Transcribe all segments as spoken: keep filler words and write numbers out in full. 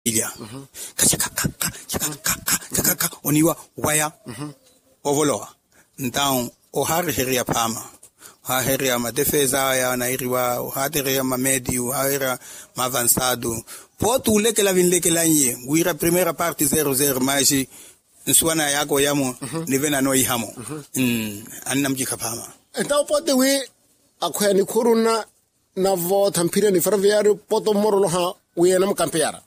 Ilya kakakaka kakakaka kakakaka oniiwa waya. Ovolowa. Ntau ohaariheriya phaama, ohaaheriya matefeza aya anairiwa, ohaatereya mamediyu ohaaheriya mavansaatu. Pooti olekela vinlekelaiye wira primeira parte zero zero maxi nsuwana yaaka oyamo nivena anoihamo. Annamucikha phaama. Entawo pooti wi akhweya nikhuru nna navootha mphirya ni ferroviario poto mmoroloha wi anamukampiyara.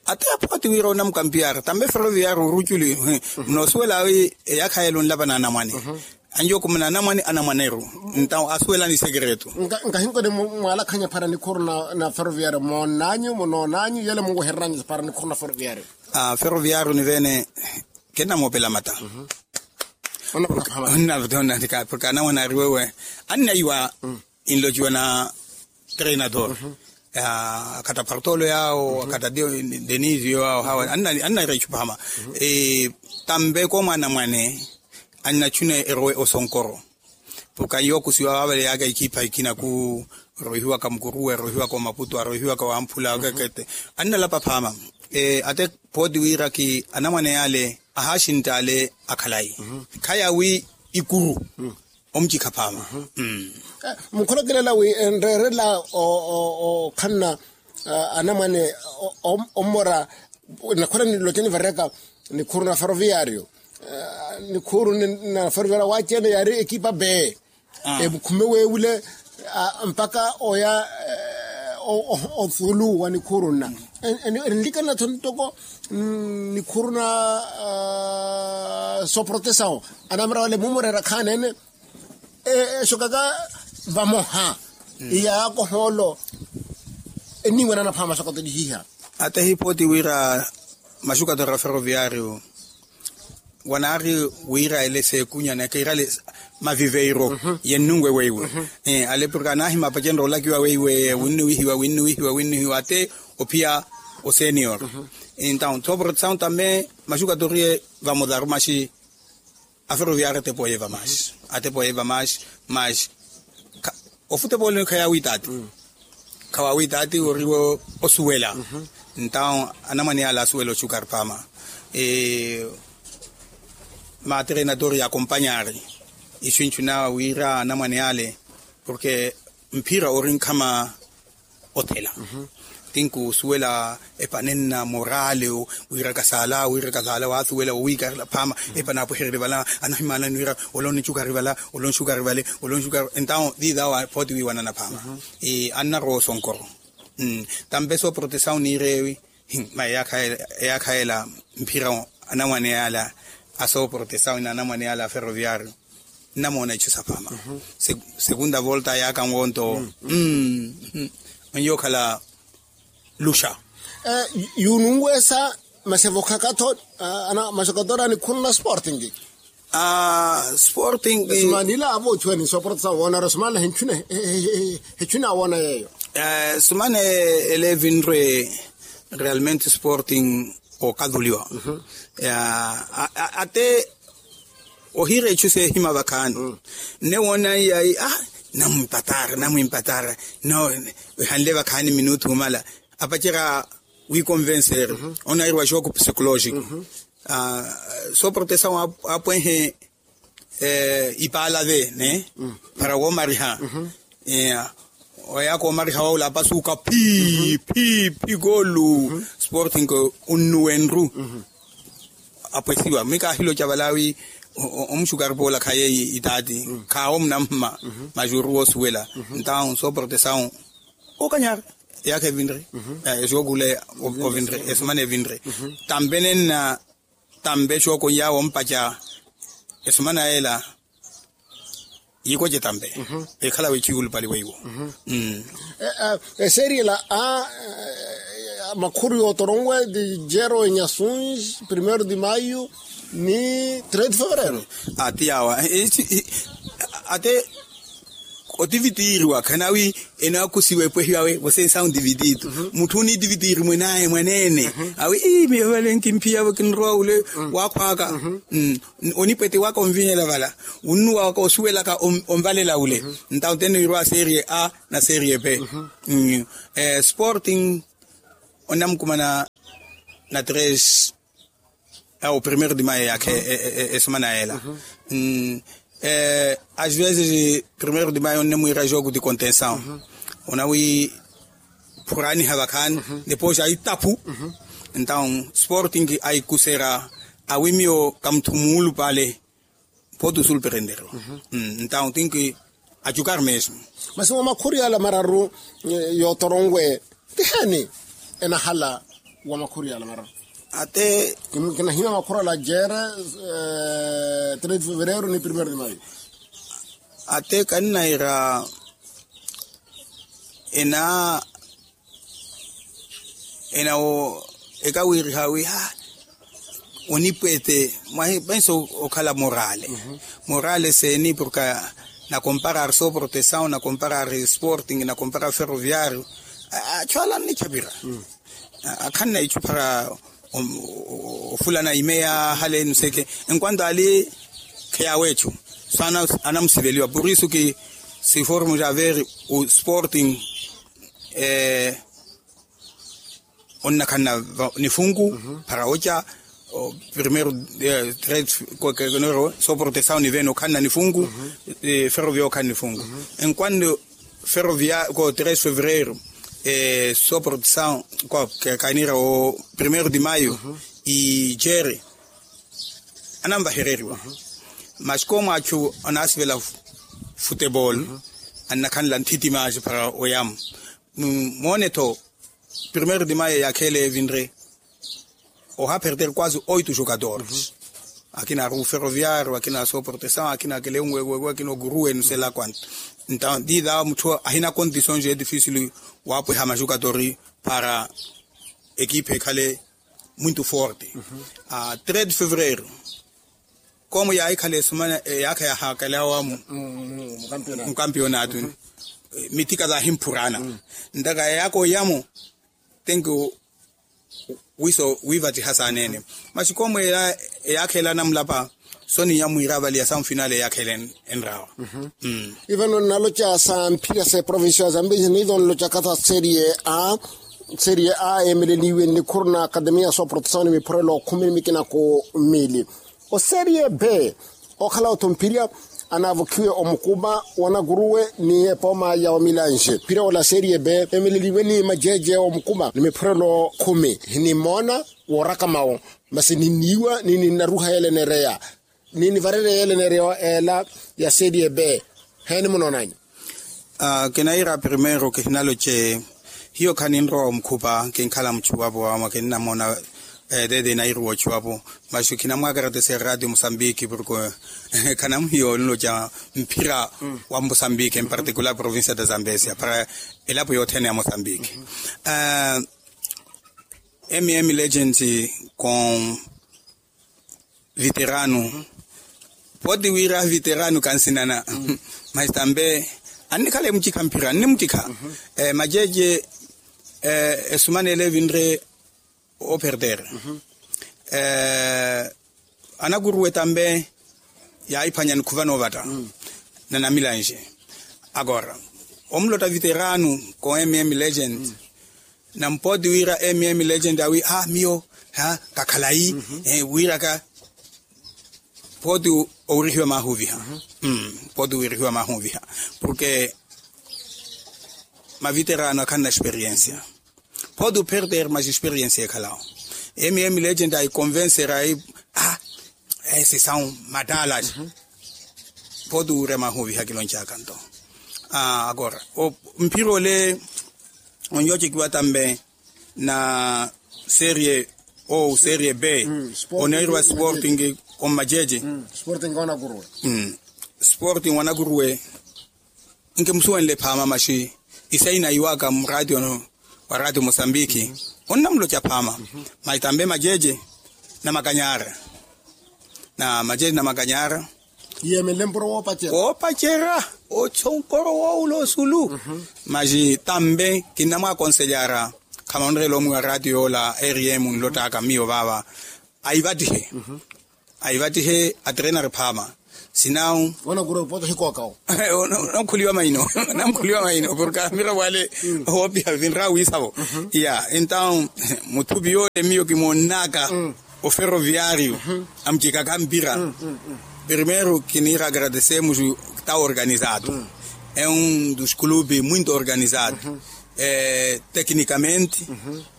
Ate aphoti wira onamukampiyara tambe ferroviario oruculi. Noosuwela wi eyaakha yela onlapana anamwane. Anjokumana anamwane anamwaneru. Ntawo asuwelani sekretu. Nkahinkoni mwalakhanya para nikhuru na ferroviario moonanyu munoonanyu yele munwehereryanyu para nikhuru na ferroviario. Ferroviario nivene kennamoopela mata. Porke anamwane ari wewe annaiwa inlociwa na treinador. Akhatta partolo yawo akhatta denisio yawo hawa annaira ichupa hama. Tambe komwana mwane annachuna erowe osonkoro. Porke anyokusiwa wavale yaka ikipa ikinaku rohiwaka mukuruwe rohiwaka omaputu arohiwaka wamphula akekete. Annalapa phama ate poti wiraki anamwane yale ahaxintaale akhalayi. Khaya wi ikuru omucikha phaama. Mukholokelela wi enreerela okhanna anamwane ommora nakhwela niloceni vareka nikhuru na ferroviario. Nikhuru na ferroviario waci ene yaari ekipa bee evukhume weewile mpaka oya othulu wa nikhuru nna. Enlikanatho ntoko nikhuru na soprotesawo anamera wale mumurera khaanene. Esokaka vamoha iya yakohoolo eniiwanana phaama sokatolihiha. Ate hipooti wira maxukatora ferroviario wanaari wira ele seekunya neke irale maviveiro yennungwe weiwe. Ale porke anahima apacenre olakiwa weiwe winnuwihiwa winnuwihiwa winnuwihiwa ate ophiya osenior. Entaw soprotesaw tambe maxukatoriye vamodaru maxi aferoviari atepoye vamaxi atepoye vamaxi maxi ofutepooleni khayawitaati. Khawawitaati oriwe osuwela. Entaw anamwane yale asuwela oxukari phaama. Matrenatori yakompanyari ixu enchunawa wira anamwane yale porke mphira ori nkhama othela. Tinkusuwela epanenna morale wira kasala wira kasala wasuwela owiikarela phaama. Epanapwehererye vala anahimanani wira olonixukari vala olonixukari vale olonixukari entaw viidawa phooti wiiwanana phaama. Annarowa osonkoro tampe sooprotesaw niireewi. Mayi eyaakha yela mphira anamwane yala asooprotesaw na anamwane yala aferoviario nnamoona ichu saphaama. Segunda volta yaaka nwonto onyookhala luxa. Yununwesa masevokhakatho masokatora nikhunna sporting. Sporting. Sumanila avo ochuweni soporta sawoona ro sumana henchuna henchuna awoona yeeyo. Sumana ele evinre realmente sporting okaduliwa. Ate ohira echu sehima vakhaani nne woona iyayi ah namwimpatara namwimpatara no ehanle vakhaani minutu humala apacera wikonvenseri. Onairiwa xooku psikolojiko sooprotesaw apwehe ipaala ve ne para woomariha. Oyaaka omariha wawula apasuka phi phi phi koolu sporting onnuwenru. Apwesiwa mikahiloca vala wi omuxukari poola khaye itaati khaawo munamma maxuuru woosuwela. Ntawo sooprotesaw okanyari eyaakha evinre exookuule ovinre esimana evinre tampe nenna tampe exooku nyaawo ompaca esimana ela. Yikoce tampe ekhala wechikulupali weiwo. Eseriela a makhuru yootoronwe di jero enyasuns primeiro di maio ni três de fevereiro. Ati yawa ate otivitiiriwa khanawi enaakusiwa epwehiwawe vosensa ontivitiitu mutthu onitivitiiri mwenaye mwaneene awi ii miyo vale nkimphiya vo kinrowa ule wakhwaaka. Onipwete waka onvinyela vala wunnuwa waka osuwelaka onvalela ule. Ntawo tene wirwa serie a na serie b sporting onamukumana na tres. Ao primeiro de maio yaakha esumana yela. Às vezes primeiro de maio onne mwiira jogo de contenção, onawi phuraniha vakhaani. Depois aitapu. Entaw sporting aikusera awi miyo kamuthumulu pale. Photo sul perendero. Entaw tinki achukar mesmo. Masi wa makhuri ala mararu yootoronwe tiheni enahala wa makhuri ala mararu? Ate kinahina makhuri ala jere três de fevereiro ni primeiro de maio. Ate kannaira ena ena wo ekawiriha wi ha onipwete mwahi pensa okhala morale. Morale seni porka na comparar so proteção na comparar sporting na comparar ferroviario. Achu ala annichapira akhanna ichu para ofulana imeya hale nuseke. Enquanto ali kheyawe echu so anamusiveliwa por isso ki si formos a ver o sporting onnakhanna nifunku para ocha primeiro três. So proteção nivene okhanna nifunku. Ferrovia okhanna nifunku. Enquanto ferrovia ko três fevereiro so proteção ko kanira o primeiro de maio ijere ananvahereriwa. Masi ko mwachu anasivela futebol annakhanla nthiti masi para oyamu. Moone tho primeiro de maio yakhele evinre oha perder quase oito jogadores. Akina aru ferroviario akina so proteção akina akele unwewewe akina ogurue nusela quanto. Entaw dida mutthu ahina condições e difícil wapweha majogadores para equipe ekhale muito forte. Três de fevereiro como yaikhala esumana yaakha yahakalawamu mukampionatuni mitika zahimphurana. Ntaka yakoyamu tenki wiso wivattiha saanene. Masi koomweela eyaakha ela namulapa soniya mwiira vali ya san final eyaakha ela enrawa. Ivano nnaloca sa mphira sa eprovincia ya zambezi niizo nlocaka sa serie a serie a eemeleliwe nnikhuru na akademiya sooprotesawo ni miphurelo khumi ni mikina ku mili. Oserie b okhala otthu mphirya anaavukhiwe omukupa wanakuruwe ni epooma ya omilanje mphirya ola serie b emeleliwe ni majeje omukupa ni miphurelo khumi. Ninimoona wooraka mawo masi ninniiwa ni ninnaruha yeela enereya ni nivarerya yeela enereya ela ya serie b. Heeni munoonanyu? Kinaira primeiro kihinaloce hiyo khaninrowa omukhupa kinkhala muchuwapo ama kinnamoona. Tete nairuwa ochuwapo masi khinamwakaratese radio musambiki porko khanamuhiyo nloca mphira wa musambiki en particular provincia da zambesia para elapo yothene ya musambiki. Emiemi legend com viterano poti wira viterano kansinana. Mas tambe annikhala emucikha mphira annimucikha majeje esumanele evinre operder. Anakuruwe tambe yaiphwanya nikhuva novatta na namilanje. Agora omulota viterano ko mm legend na mpoti wira mm legend awi a miyo kakhalayi wiraka. Poti owirihiwa mahuviha. Poti owirihiwa mahuviha porke maviterano akhanna experiensia. Poti operder mas experiensia ekhalawo mm legend aiconvencer ai a esi são matalas. Poti owirya mahuviha kiloncaka nto agora mphira ole onyocekiwa tambe na serie o serie b oneeriwa sporting ommajeje. Sporting wanakuruwe nkimusuwenle phaama masi isaina iwaka muraatio wa raatio mosambiki onnamuloca phaama. Masi tambe majeje na makanyara na majeje na makanyara. Yeemenle mpuro woopacera woopacera ochonkoro woowula osulu. Masi tambe kinnamwakonselyara khamanrela omwiwa raatiyo yoola rm nlottaka miyo vaava aivattihe aivattihe atrenari phaama. Sinawu. Onakura opota hikookawo. Onankhuliwa maino. Onankhuliwa maino porke amiravo ale, oopiha vinrawiisavo. Ya entawu, mutthupi yoole miyo kimoonnaka oferoviario, amucikaka mpira. Primeiro kiniira agradecemos, ta organizado. É um dos clubes muito organizado, tecnicamente,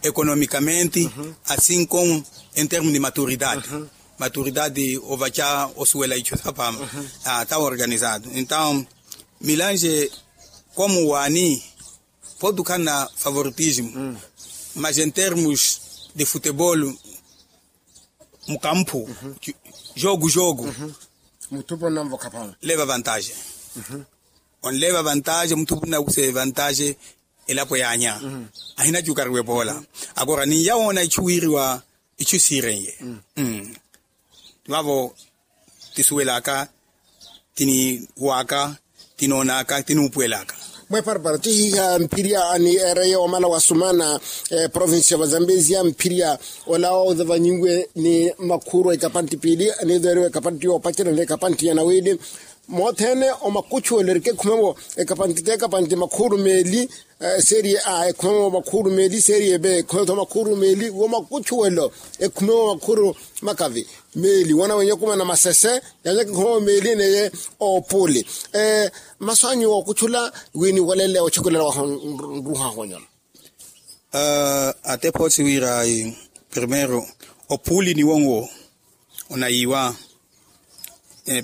economicamente, assim como em termos de maturidade. Maturidade ovaca osuwela ichu sapama. Tava organizado entawu, milange, como wani, pode ukhanna favoritismo, mas em termos de futebol, mukamphu, jogo jogo, mutthupi onnanvokha phamu. Leva vantagem. Onleva vantagem mutthupi onnakuxe vantagem. Elapo yaanya, ahinacukariwa epoola. Akora ninyawoona ichu wiiriwa, ichu siirenye. Vavo tisuwelaka, tiniwaka, tinoonaka tinuupuwelaka. Mweparapara tihiha mphirya ni ereye omala wasumana, provincia va zambezia mphirya, olawo ozavanyiwe ni makhuru ekapanti piili, anizeriwe ekapanti yoopacerya ni ekapanti ya nawili. Mothene omakuchuwelo erikekhumewo ekapanti te ekapanti makhuru meeli, serie a ekhumewo makhuru meeli serie b ekhumewo makhuru meeli womakuchuwelo, ekhumewo makhuru makavi meeli wona wenye okumana masese, yanyaka ekhumewo meeli neye opuli. Masu anyu wookuchula wini walele ochekelela waho nruhaho nyona. Atepa osi wira primero, opuli ni wonwo onayiwa.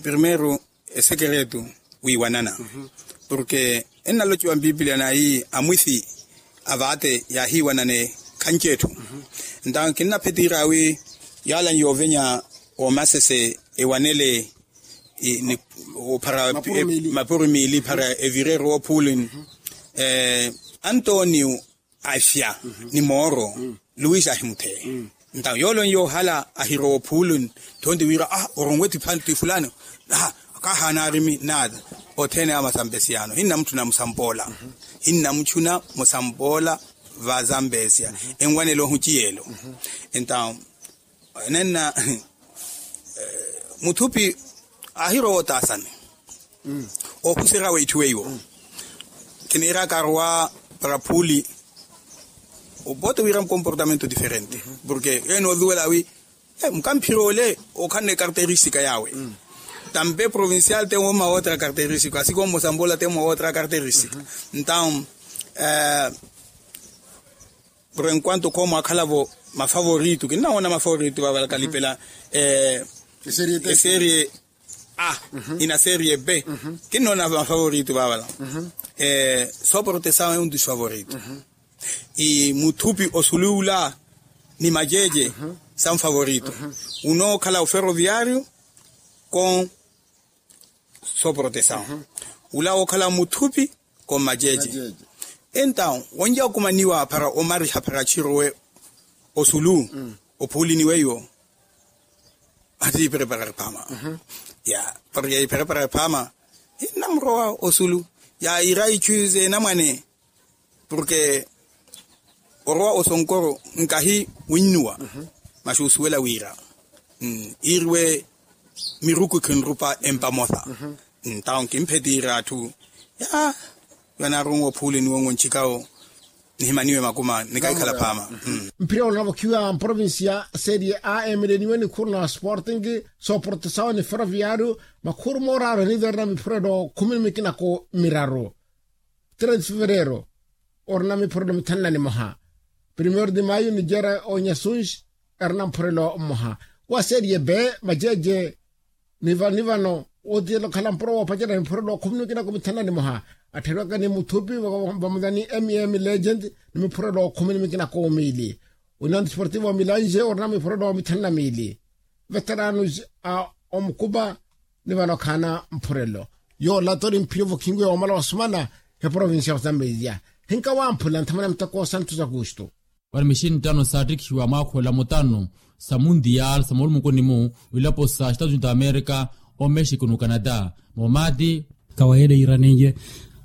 Primero, esekeretu wiiwanana, porke ennalochiwa mpipilia nayi amwisi avaate yaahiiwanane khanci etthu. Entawo kinnaphetiira wi yala nyoovenya omasese ewanele ophara mapuru miili phara evireru ophulin. Antonio afya ni mooro, luis ahimutheya. Ntawo yoolonye ohala ahirowa ophulin, thonti wira ah oronwe ti fulani. Kahaana arimi nata othene amasampesiyano hinna mutthu namusampola. Hinna mutthu namusampola vasampesiya enwanela ohuciyelo. Entawo nenna mutthupi ahirowa otaasani. Ohuserya weitthu weiwo kiniiraka arowa para phuli. Opote wira mukomportamento diferente porke ene osuwela wi mukamphira ole okhanna ekarteristika yawe. Tampe provincial te mwa otra karteristika asiko mmosambola te mwa otra karteristika. Ntawo por enquanto kho mwakhalavo mafavorito kinnawoona mafavorito vavala kalipela eserie a ina serie b. Kinnoona mafavorito vavala soportesawo e un dos favorito. Imutthupi osuliwula ni majeje sa mufavorito unookhala oferoviario. Ko soportesawo ula wookhala mutthupi ko majeje. Entawo wonja okumaniwa para omariha para chirowe osulu ophulini weiwo. Ati ipreparar phama ya para ya ipreparar phama. Innamurowa osulu ya ira ichu zenamwane porke orowa osonkoro nkahi winnuwa. Maxi usuwela wira iriwe miruku khinrupa empamosa. Ntawo nkimphetiira atthu ya yanaarunwa ophuli ni wonwo nchikawo nihimaniwe makuma nikahikhala phama. Mphira onavokhiwa mprovincia serie a emeleniwe ni khuru na sporting soportesawo ni ferroviario makhuru mooraaru eniverna miphurelo khumi ni mikinako miraru. Treze fevereiro orina miphurelo mithanu na nimoha. Primeiro de maio nijera onyasunji erina mphurelo mmoha wa serie b. Majeje ni vano ni vano otiyela okhala mpuro woopacerya miphurelo khumi ni mikinako mithanu na nimoha atthariwaka ni muthupi vamudani mem legend ni miphurelo khumi ni mikinako miili. Union desportivo milanje orina miphurelo mithanu na miili. Veteranos a omukupa ni vano khaana mphurelo yoola tori mphira ovokhinwe yoomala wasumana. He provincia ya zambezia hinka wamphula nthamana muteko santos augusto. Wari mixini ttano saattikhiwa mwaakhoola mutano sa mundial sa moolumukuni-mu wilapo sa estados unidos amerika, omexico no canada. Moomati kawayele iranenye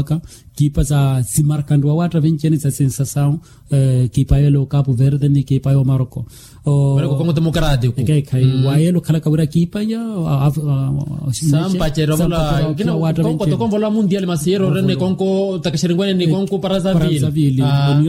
waka kiipa sa simarkanriwa watta vinci ni sa sensasawu. Kiipa yelo kapu verde ni kiipa yo maroko. Kongo demokratiko. Wayelo khalaka wira kiipa ya sampacerwa vola. Kongo tokonvola mundial masiyero rene kongo takasheringuene ni kongo para za vili.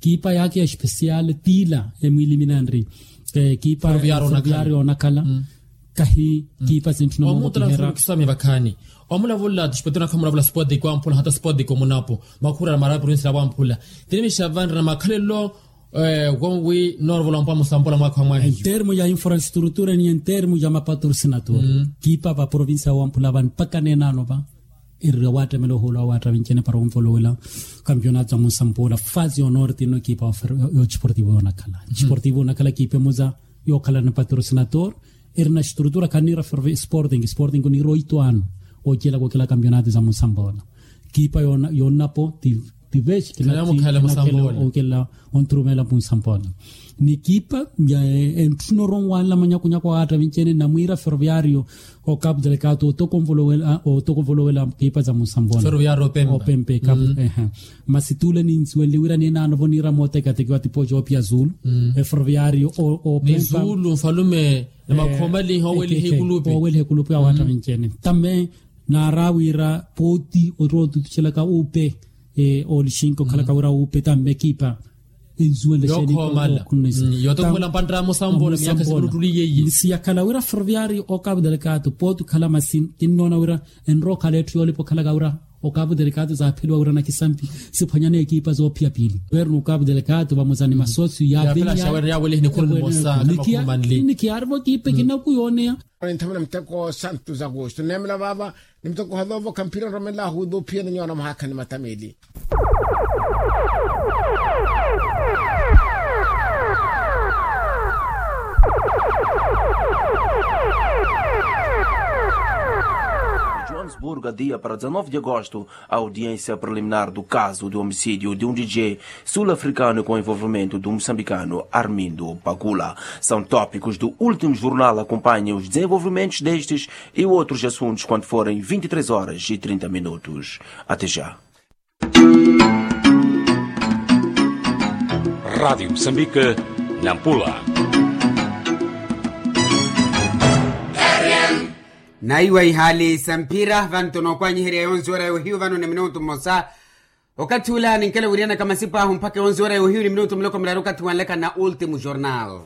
kiipa yaakhi ya espesial tiila emwiiliminanri kiipa ferroviario onakhala kahi kiipa sintthuna mwamuttuna mwamuttuna. Kisamya vakhaani omulavola tispetona khamulavula spotiko amphula hata spotiko munapo mwakhurala mara provincia la wamphula tinimixa vanrina makhalelo. Wonwi noorovola mpwa musambola mwaakha wa mwahiyo. Entermo ya infrastrutura ni entermo ya mapatrosinator kiipa va provincia ya wamphula vani mpaka neenaano va erira waattamela ohuula wa waattavincene para onvolowela kampionato za munsampoola fasi yonorti nno kiipa ya desportivo yoonakhala desportivo yoonakhala kiipa emoza yookhala ni patrosinator. Erina estrutura khanniira ferrovi sporting sporting oniira oito ano oocela kookela kampionato za munsampoola kiipa yoonnapo ti vexi kinakhela onkela onthurumela munsampoola ni kiipa ya entthuna oronwanla manyakunyaku awaattavincene namwiira ferroviario okapu delekato otokonvolowela kiipa za munsampoola opempe kapu ehe. Masi tuula ninsuwenle wira neenaanovo niira mootekeateke wa tipo joopia zulu eforoviario opempa zulu nfalume na makhoomaliha oweliha ekulupi awaattavincene tamme naara wira pooti ottira otutuxelaka upe olixinki okhalaka wira upe tamme kiipa ensuwenle xeeni yookhoomala yootokhumela mpanttamo sambola miyakha simuttuli yeiye. Siyakhala wira ferroviario okapu delekato pooti okhala masi kinnoona wira enrookhala etthu yoolipa okhalaka wira okapu delekato zaapheliwa wira nakisampi siphwanyana ekiipa zoophiya piili weerina okapu delekato vamosa ni masosio yaavenyaya. Nikiyaarivo kiipa ekinaku yooneya. Ninthamuna muteko santu za kusto neemela vaava ni muteko ohalovo khamphira nromelahu ohuuda ophiyana nyuwana mwahaakha ni matameli. Johannesburgo dia para dezanove de agosto a audiência preliminar do caso de homicídio de um DJ sul-africano com envolvimento do moçambicano Armindo Pagula. São tópicos do último jornal. Acompanhe os desenvolvimentos destes e outros assuntos quando forem vinte e três horas e trinta minutos. Até já. Rádio Moçambique, Nampula. Naiwa ihaali sa mphira vano tonookwanyiherya yonzi ora yohiyu vano ni minutu mmosa. Okathi ula ninkela wiriyanaka masipa ahu mpakha yonzi ora yohiyu ni minutu miloko miraru okathi wanleka na ultimu jornal.